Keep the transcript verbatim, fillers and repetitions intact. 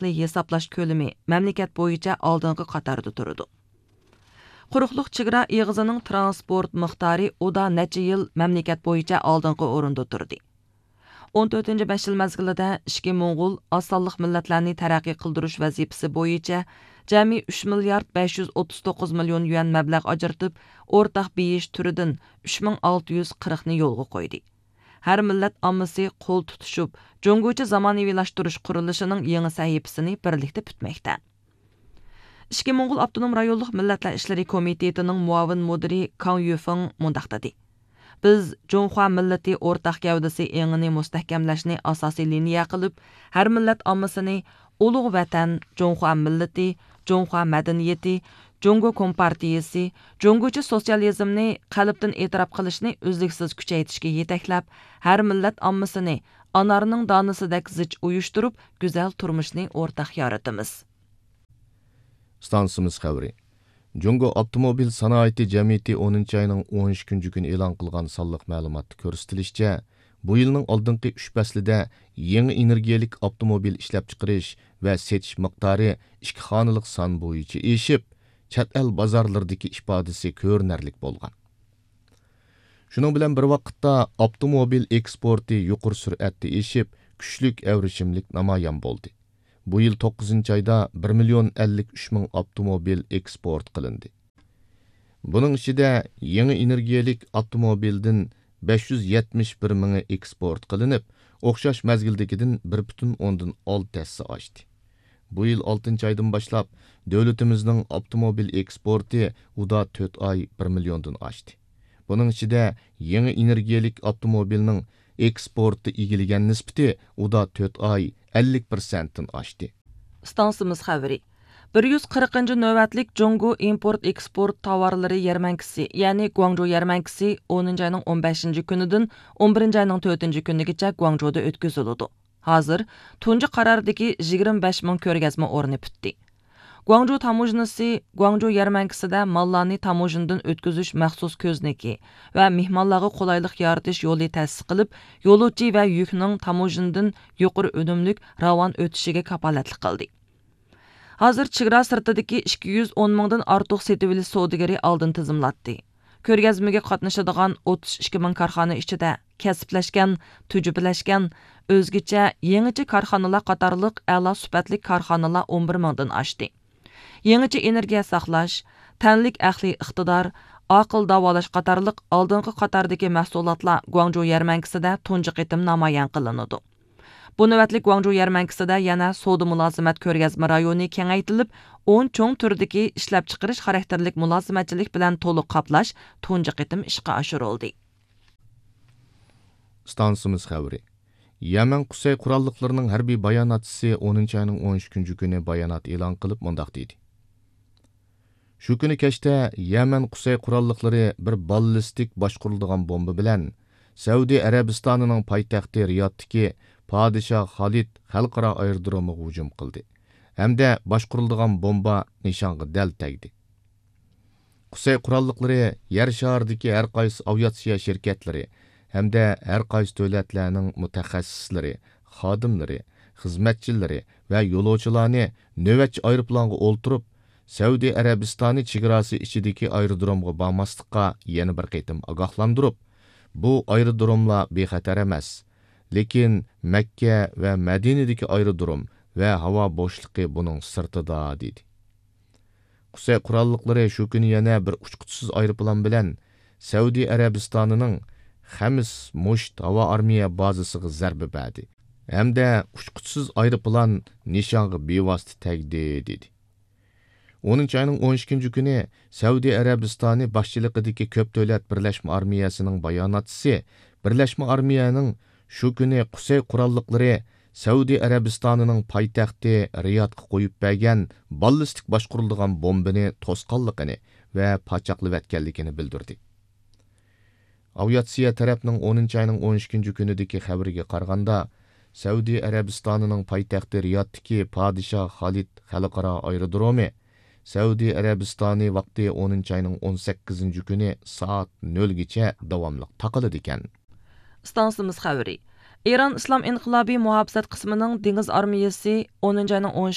ئارقىلىق ھېسابلاش كۆلىمى مەملىكەت بويىچە ئالدىنقى قاتاردا تۇرىدۇ. قۇرۇقلۇق چېگرا ئېغىزىنىڭ تىرانسپورت مىقدارى ئۇدا نەچچە يىل مەملىكەت بويىچە ئالدىنقى ئورۇندا تۇردى. ئون تۆتىنچى بەش يىل مەزگىلىدە ئىچكى موڭغۇل ئاز سانلىق مىللەتلەرنى تەرەققىي قىلدۇرۇش ۋەزىپىسى بويىچە جەمئىي ئۈچ مىليارد بەش يۈز ئوتتۇز توققۇز مىليون يۈەن مەبلەغ ئاجرىتىپ، ئورتاق بېيىش تۈرىدىن ئۈچ مىڭ ئالتە يۈز قىرىقنى يولغا قويدى. ھەر مىللەت ئاممىسى قول تۇتۇشۇپ، جۇڭگوچە زامانىۋىلاشتۇرۇش قۇرۇلۇشىنىڭ يېڭى سەھىپىسىنى بىرلىكتە پۈتمەكتە. ئىچكى موڭغۇل ئاپتونوم رايونلۇق مىللەتلەر ئىشلىرى كومىتېتىنىڭ مۇئاۋىن مۇدىرى كاڭ يۈفېڭ مۇنداق دېدى: بىز جۇڭخۇا مىللىتى ئورتاق گەۋدىسى ئېڭىنى مۇستەھكەملەشنى ئاساسىي لىنىيە قىلىپ، ھەر مىللەت ئاممىسىنى ئۇلۇغ ۋەتەن، جۇڭخۇا مىللىتى، جۇڭخۇا مەدەنىيىتى، جۇڭگو كومپارتىيىسى، جۇڭگوچە سوتسىيالىزمنى قەلبتىن ئېتىراپ قىلىشنى ئۈزلۈكسىز كۈچەيتىشكە يېتەكلەپ، ھەر مىللەت ئاممىسىنى ئانارنىڭ دانىسىدەك زىچ ئۇيۇشتۇرۇپ، گۈزەل تۇرمۇشنى ئورتاق يارىتىمىز. ئىستانسىمىز خەۋىرى. جۇڭگو ئاپتوموبىل سانائىتى جەمئىيىتى ئونىنچى ئاينىڭ ئون ئىككىنچى كۈنى ئېلان قىلغان سانلىق مەلۇماتتا كۆرسىتىلىشىچە، بۇ يىلنىڭ ئالدىنقى ئۈچ پەسلىدە يېڭى ئېنېرگىيەلىك ئاپتوموبىل ئىشلەپچىقىرىش ۋە سېتىش مىقدارى ئىككى خانىلىق سان بويىچە ئېشىپ، چەت ئەل بازارلىرىدىكى ئىپادىسى كۆرۈنەرلىك بولغان. شۇنىڭ بىلەن بىر ۋاقىتتا، ئاپتوموبىل ئېكسپورتى يۇقىرى سۈرئەتتە ئېشىپ، كۈچلۈك ئەۋرىشىملىك نامايان بولدى. بۇ يىل توققۇزىنچى ئايدا بىر مىليون ئەللىك ئۈچ مىڭ ئاپتوموبىل ئېكسپورت قىلىندى. بۇنىڭ ئىچىدە يېڭى ئېنېرگىيەلىك ئاپتوموبىلدىن بەش يۈز يەتمىش بىر مىڭى ئېكسپورت قىلىنىپ، ئوخشاش مەزگىلدىكىدىن بىر پۈتۈن ئوندىن ئالتە ھەسسە ئاشتى. بۇ يىل ئالتىنچى ئايدىن باشلاپ، دۆلىتىمىزنىڭ ئاپتوموبىل ئېكسپورتى ئۇدا تۆت ئاي بىر مىليوندىن ئاشتى. بۇنىڭ ئىچىدە يېڭى ئېنېرگىيەلىك ئاپتوموبىلنىڭ ئېكسپورتتا ئىگىلىگەن نىسبىتى ئۇدا تۆت ئاي ئەللىك پىرسەنتتىن ئاشتى. ئىستانسىمىز خەۋىرى. بىر يۈز قىرىقىنچى نۆۋەتلىك جۇڭگو ئىمپورت ئېكسپورت تاۋارلىرى يەرمەنكىسى، يەنى گۇاڭجۇ يەرمەنكىسى ئونىنچى ئاينىڭ ئون بەشىنچى كۈنىدىن ئون بىرىنچى ئاينىڭ تۆتىنچى كۈنىگىچە گۇاڭجۇدا ئۆتكۈزۈلىدۇ. ھازىر تۇنجى قارارىدىكى يىگىرمە بەش مىڭ كۆرگەزمە ئورنى پۈتتى. گۇاڭجۇ تاموژنىسى گۇاڭجۇ يەرمەنكىسىدە ماللارنى تاموژنىدىن ئۆتكۈزۈش مەخسۇس كۆزنىكى ۋە مېھمانلارغا قولايلىق يارىتىش يولى تەسىس قىلىپ، يولۇچى ۋە يۈكنىڭ تاموژنىدىن يۇقىرى ئۈنۈملۈك راۋان ئۆتۈشىگە كاپالەتلىك قىلدى. ھازىر چېگرا سىرتىدىكى ئىككى يۈز ئون مىڭدىن ئارتۇق سېتىۋېلىش سودىگىرى ئالدىن تىزىملاتتى. كۆرگەزمىگە قاتنىشىدىغان ئوتتۇز ئىككى مىڭ كارخانا ئىچىدە كەسىپلەشكەن، تۈجۈپىلەشكەن، ئۆزگىچە، يېڭىچە كارخانىلار قاتارلىق ئەلا سۈپەتلىك كارخانىلار ئون بىر مىڭدىن ئاشتى. يېڭىچە ئېنېرگىيە ساقلاش، تەنلىك ئەقلىي ئىقتىدار، ئاقىل داۋالاش قاتارلىق ئالدىنقى قاتاردىكى مەھسۇلاتلار گۇاڭجۇ يەرمەنكىسىدە تۇنجى قېتىم نامايان قىلىنىدۇ. بۇ نۆۋەتلىك گۇاڭجۇ يەرمەنكىسىدە يەنە سودا مۇلازىمەت كۆرگەزمە رايونى كېڭەيتىلىپ، ئون چوڭ تۈردىكى ئىشلەپچىقىرىش خاراكتېرلىك مۇلازىمەتچىلىك بىلەن تولۇق قاپلاش تۇنجى قېتىم ئىشقا ئاشۇرۇلدى. ئىستانسىمىز خەۋىرى. يەمەن قۇسەي قوراللىقلىرىنىڭ ھەربىي باياناتچىسى ئونىنچى ئاينىڭ ئون ئىككىنچى كۈنى بايانات ئېلان قىلىپ مۇنداق دېدى: شۇ كۈنى كەچتە يەمەن قۇسەي قوراللىقلىرى بىر باللىستىك باشقۇرۇلىدىغان بومبا بىلەن سەئۇدى ئەرەبىستانىنىڭ پايتەختى رىيادتىكى پادىشاھ خالىد خەلقئارا ئايرودرومىغا ھۇجۇم قىلدى ھەمدە باشقۇرۇلىدىغان بومبا نىشانغا دەل تەگدى. قۇسەي قوراللىقلىرى يەر شارىدىكى ھەر قايسى ئاۋىئاتسىيە شىركەتلىرى ھەمدە ھەر قايسى دۆلەتلەرنىڭ مۇتەخەسسىسلىرى، خادىملىرى، خىزمەتچىلىرى ۋە يولۇچىلارنى نۆۋەتچى ئايروپىلانغا ئولتۇرۇپ، سەئۇدى ئەرەبىستانى چېگراسى ئىچىدىكى ئايرودرومغا بارماسلىققا يەنە بىر قېتىم ئاگاھلاندۇرۇپ، بۇ ئايرودروملار بىخەتەر ئەمەس، لېكىن مەككە ۋە مەدىنىدىكى ئايرودروم ۋە ھاۋا بوشلۇقى بۇنىڭ سىرتىدا، دېدى. قۇسەي قوراللىقلىرى شۇ كۈنى يەنە بىر ئۇچقۇچىسىز ئايروپىلان بىلەن سەئۇدى ئەرەبىستانىنىڭ خەمس مۇشت ھاۋا ئارمىيە بازىسىغا زەربە بەردى ھەمدە ئۇچقۇچىسىز ئايروپىلان نىشانغا بىۋاسىتە تەگدى، دېدى. ئونىنچى ئاينىڭ ئون ئىككىنچى كۈنى سەئۇدى ئەرەبىستانى باشچىلىقىدىكى كۆپ دۆلەت بىرلەشمە ئارمىيەسىنىڭ باياناتچىسى بىرلەشمە ئارمىيەنىڭ شۇ كۈنى قۇسەي قوراللىقلىرى سەئۇدى ئەرەبىستانىنىڭ پايتەختى رىيادقا قويۇپ بەرگەن باللىستىك باشقۇرۇلىدىغان بومبىنى توسقانلىقىنى ۋە پاچاقلىۋەتكەنلىكىنى بىلدۈردى. ئاۋىئاتسىيە تەرەپنىڭ ئونىنچى ئاينىڭ ئون ئىككىنچى كۈنىدىكى خەۋىرىگە قارىغاندا، سەئۇدى ئەرەبىستانىنىڭ پايتەختى رىيادتىكى پادىشاھ خالىد خەلقئارا ئايرودرومى سەئۇدى ئەرەبىستانى ۋاقتى ئونىنچى ئاينىڭ ئون سەككىزىنچى كۈنى سائەت نۆلگىچە داۋاملىق تاقىلىدىكەن. ئىستانسىمىز خەۋىرى. ئىران ئىسلام ئىنقىلابى مۇھاپىزەت قىسمىنىڭ دېڭىز ئارمىيەسى ئونىنچى ئاينىڭ ئون